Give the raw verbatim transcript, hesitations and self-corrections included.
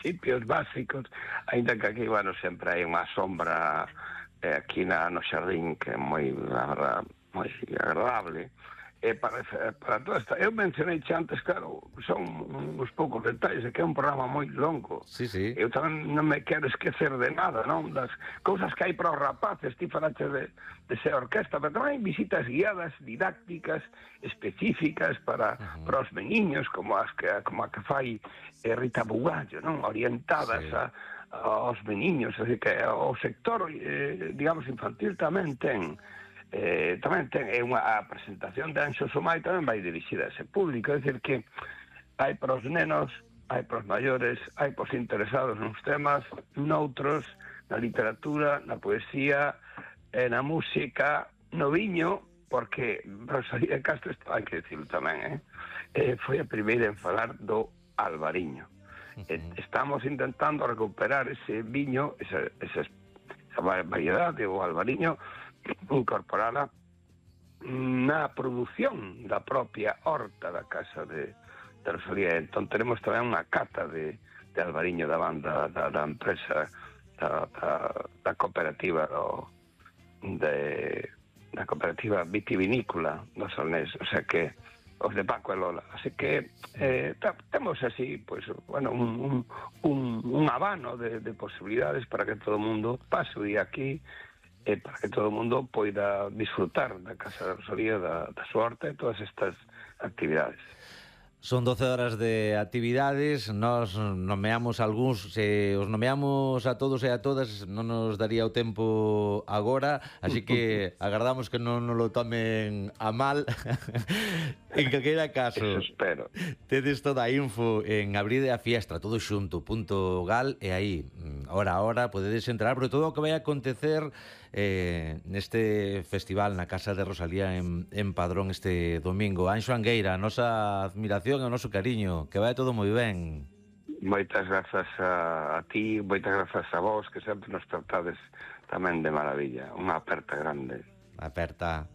principios básicos, ainda que aquí, bueno, sempre hai unha sombra eh, aquí na, no xardín que é moi, la verdad, moi agradable. E para, para toda esta... Eu mencionei antes, claro, son uns poucos detalles, é que é un programa moi longo. Sí, sí. Eu tamén non me quero esquecer de nada, non? Das cousas que hai para os rapaces, ti falaste de, de ser orquesta, pero tamén hai visitas guiadas, didácticas, específicas para, uh-huh. para os meniños, como as que, como a que fai eh, Rita Bugallo, non? Orientadas sí. a, aos meniños, así que o sector, eh, digamos, infantil tamén ten... Eh, tamén ten é unha a presentación de Anxo Somai tamén vai dirixida a ese público, é dicir que hai para os nenos, hai para os maiores, hai para os interesados nos temas, noutros, na literatura, na poesía, eh, na música, no viño, porque Rosalía de Castro, hai que dicirlo tamén, eh? Eh, foi a primeira en falar do albariño. Uh-huh. Eh, estamos intentando recuperar ese viño, esa, esa, esa variedade, o albariño, incorporada na produción da propia horta da casa de, de Rosalía. Entón tenemos tamén unha cata de, de albariño da banda da, da empresa da, da, da cooperativa do, de, da cooperativa vitivinícola do Solnés, o sea que os de Paco e Lola, así que eh, temos así, pues, bueno, un, un, un, un abano de, de posibilidades para que todo o mundo pase o día aquí, e para que todo o mundo poida disfrutar da Casa de Rosalía, da, da súa horta e todas estas actividades. Son doce horas de actividades, nós nomeamos algúns, se os nomeamos a todos e a todas non nos daría o tempo agora, así que agardamos que non nos lo tomen a mal. En calquera caso, eso espero. Tedes toda a info en Abride a Fiestra, todo xunto, punto gal, e aí, hora a hora, podedes entrar, pero todo o que vai a acontecer eh, neste festival na Casa de Rosalía en, en Padrón este domingo. Anxo Angueira, a nosa admiración e o noso cariño, que vai todo moi ben. Moitas grazas a, a ti, moitas grazas a vos, que sempre nos tratades tamén de maravilla. Unha aperta grande. Aperta.